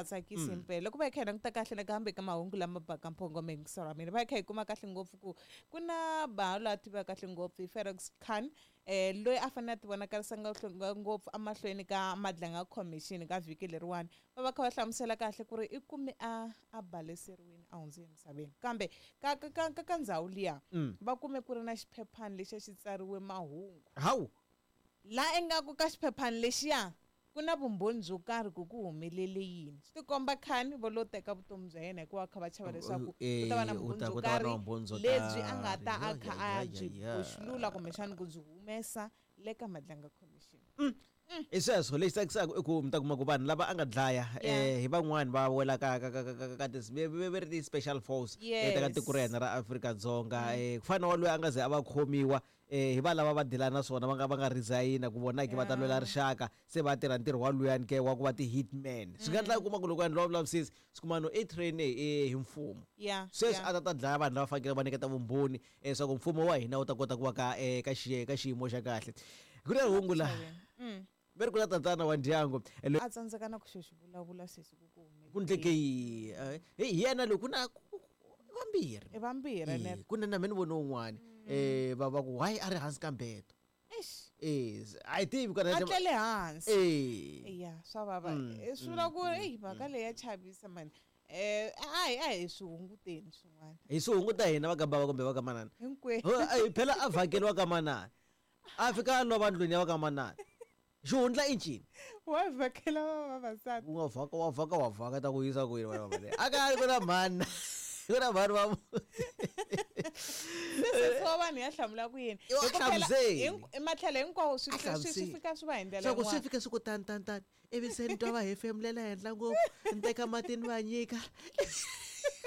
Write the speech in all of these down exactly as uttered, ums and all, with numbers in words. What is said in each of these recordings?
Tsakisi impela loko va hi kha hi languta kahle nakambe ka mahungu lama baka mphongo miyingiselo wa mina, va hi kha hi kuma kahle ngopfu ku ku na baha loyi a tiveka kahle ngopfu hi Feroz Khan, eh loyi a fanele a ti vonakarisa ngopfu emahlweni ka Madlanga Commission ka vhiki leriwani. Va va kha va hlamusela kahle ku ri i kume a a baleseriwile a hundze emisaveni, kambe ka ka ka ka ka ndzhawu liya va kume ku ri na xiphephani lexi a xi tsariwe mahungu. Hawu, la ingaku ka xiphephani lexiya ku na vumbhoni byo karhi ku ku humelele yini. Swi tikomba Khan vo lo teka vutomi bya yena hikuva kha va chava leswaku ku ta va na Eh, u vumbhoni ta- byo ku ta va na karhi vumbhoni byo lebyi a nga ta a karhi. kha Ya, a ya, ya, byi ya. boxulula kumbexana ku byi humesa le ka Madlanga Commission. I sweswo lexi tsakisaka i ku mi ta kuma ku vanhu lava a nga dlaya Yeah. eh hi van'wani va wela ka ka ka ka ka ka ti ve ve ri ti-special force eh, ta ka Yes. tiko ra hina ra Afrika-Dzonga. eh ku fana na wa loyi a nga ze a va khomiwa eh hi va lava va dilana na swona va nga va nga resign ku vona ke va ta lwela rixaka, se va tirha ntirho wa luyani ke wa ku va ti-hitman. Swi nga endla u kuma ku loko a endliwa vulavisisi swi kuma no i train eh hi mfumo, Yeah, sweswi yeah. a ta ta dlaya vanhu lava fanekele va nyiketa vumbhoni leswaku mfumo wa hina wu ta kota ku va ka eh, ka xiye ka xiyimo xa kahle. Ku na hungu la Mm. ve ri ku na tatana wa ndyangu eh, loyi A tsandzeka na ku xo xi vulavula sweswi ku ku humelele ku ndleke yi eh, hi yena loyi ku na ku- ku- ku- vambirhi. I vambirhi Eh, ne ku na na me ni vone un'wani eh va va ku hayi a ri hansi ka mbeto. Eish. Eh a yi tivi kwala A tlele hansi. eh Ya, swa vava. Eh, swi vula ku eyi mhaka leyi ya chavisa mani. Eh a hi a hi swi hunguteni swin'wana. Hi swi hunguta hina va ka bava kumbe va ka manana. Hinkwenu. Ho, eh, phela a vhakeriwa ka manana, a fika a lova ndlwini ya va ka manana, xihundla i ncini? Wa vhakela va vavasati. U nga vhaka wa vhaka wa vhaka ta ku yisa kwini wena baba leyi? A ka ku na mhani, ku na mhani va Se wa vanhu ya hlamula ku yini? I wa Hi ku phela hlamuseli. hink- matlhelo hinkwawo swi A swi- swi hlamuseli. fika swi va hi ndlela Swa ku swi yin'wana. fika swi ku tani tani tani, ivi se ni twa va hefemulela henhla ngopfu, ni teka mati ni va nyika.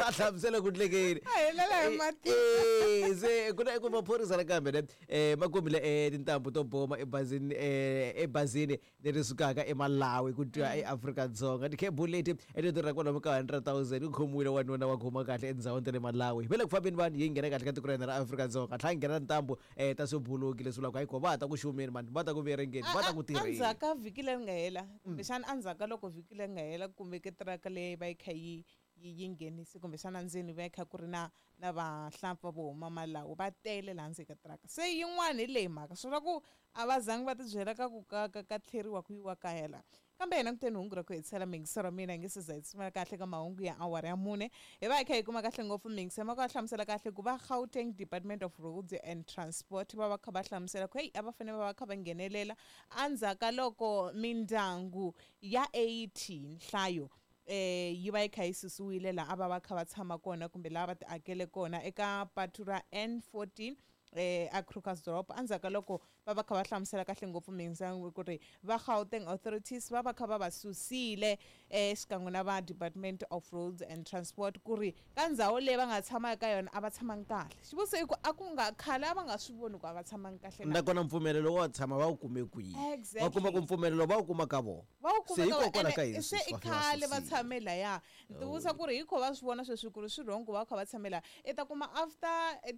A hlamusela ku ndlekeni. A helela hi mati. Eh, se ku na ku maphorisa nakambe ne eh ma kumile eh tintambu to boma ebazini eh ebazini leri sukaka eMalawi ku twa eAfrika-Dzonga. Tikhebulu leti leti tirhaka kwalomu ka hundred thousand ku khomiwile wanuna wa khoma kahle endhawini ta le Malawi. Va le ku fambeni vanhu yi nghena kahle ka tiko ra hina ra Afrika-Dzonga, tlhela yi nghena tintambu eh ta swibuluki leswi vulaka hayi ko va ta ku xumeni mani, va ta ku verengeni, va ta ku tirheni. Endzhaku ka vhiki leri nga hela, kumbexana endzhaku ka loko vhiki leri nga hela kumbe ke tiraka leyi va yi kha yi yi yi nghenisi kumbexana ndzeni va yi kha ku ri na na vahlampfa vo huma Malawi va tele laha ndzeni ka tiraka. Se yin'wana hi leyi mhaka swi vula ku a va zangi va tibyela ka ku ka ka ka tlheriwa ku yiwa kaya laha. Kambe hina kuteni hungu ra ku hetisela miyingiselo wa mina hi nge se za hi tshumela kahle ka mahungu ya awara ya mune. Hi va hi kha hi kuma kahle ngopfu miyingiselo ma ku va hlamusela kahle ku va Gauteng Department of Roads and Transport va va kha va hlamusela ku heyi a va fanele va va kha va nghenelela endzhaku ka loko mindyangu ya eighty nhlayo eh yi va yi kha yi susiwile laha a va va kha va tshama kona kumbe laha va ti akele kona eka patu ra N fourteen eh a Krugersdorp. Endzhaku ka loko va va kha va hlamusela kahle ngopfu miyingiselo ku ri va Gauteng authorities va va kha va va susile eh xikan'we na va Department of Roads and Transport ku ri ka ndhawu leyi va nga tshama eka yona a va tshamangi kahle. Xivutiso i ku a ku nga khale a va nga swi voni ku a va tshamangi kahle na. Nakona mpfumelelo wo tshama va wu kume kwihi? Exactly. Va kuma ku mpfumelelo va wu kuma ka vona. Va wu Se kuma ka vona. hikokwalaho ka Ene yini se sweswi i va fika va khale va susile? tshame laya. Ni tivutisa ku ri hi kho va swi vona sweswi ku ri swi wrong ku va kha va tshame laha. I ta kuma after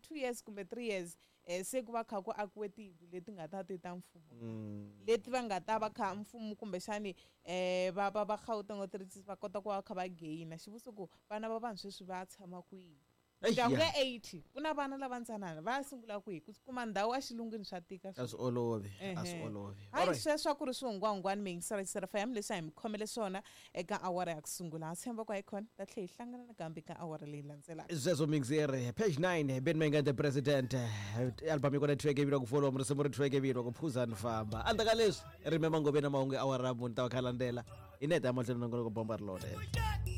two years kumbe three years eh se ku va kha ku akiwe tiyindlu leti nga ta ti ta mfumo. Leti va nga ta va kha mfumo kumbexani eh va va va Gauteng authorities va kota ku va kha va gain. Xivutiso ku vana va vanhu sweswi va tshama kwihi? Eish, Ndyangu ya. ya eighty ku na vana lava ntsanana va sungula kwihi? Ku kuma ndhawu exilungwini swa tika A swi olovi, a swi Ehe. olovi. Hayi Alright. sweswo a ku ri swihungwahungwani miyingiselo ya F M leswi a hi mi khomele swona eka awara ya ku sungula. Ha tshemba ku hayikhona ta tlhela hi hlangana nakambe ka awara leyi landzelaka. Sweswo mixer page nine Ben Menga the president album yi kona track yi ku follow risimu ri track yi ku phuza ni famba. Endzhaku ka leswi remember ngove na mahungu ya awara ya mune ta va kha landzela hi neta ya mahlweni nongonoko bomba ri lona.